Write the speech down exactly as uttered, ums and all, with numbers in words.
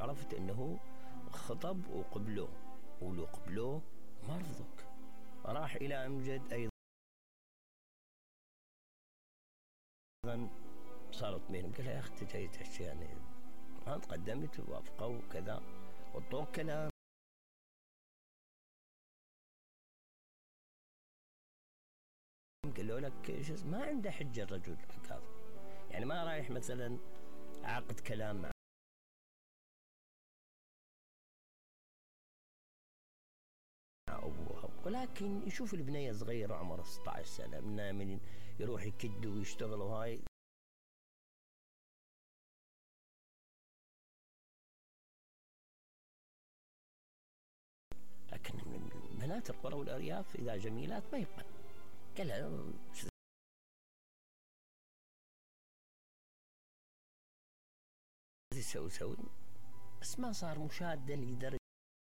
عرفت انه خطب وقبلوه، ولو قبلوه ما رفضوك، راح الى امجد ايضا صارت بينهم، قال يا اخي انت جاي تحكي يعني انا تقدمت ووافقوا وكذا وطوق كلام، قالوا لك شو ما عنده حجه الرجل هذا، يعني ما رايح مثلا عقد كلام مع ابوها، ولكن يشوف البنيه صغيره عمرها ستة عشر سنه من يروح يكد ويشتغل وهاي، لكن بنات القرى والارياف اذا جميلات ما يبقى قالها سوي سوي، بس ما صار مشاده لدرجه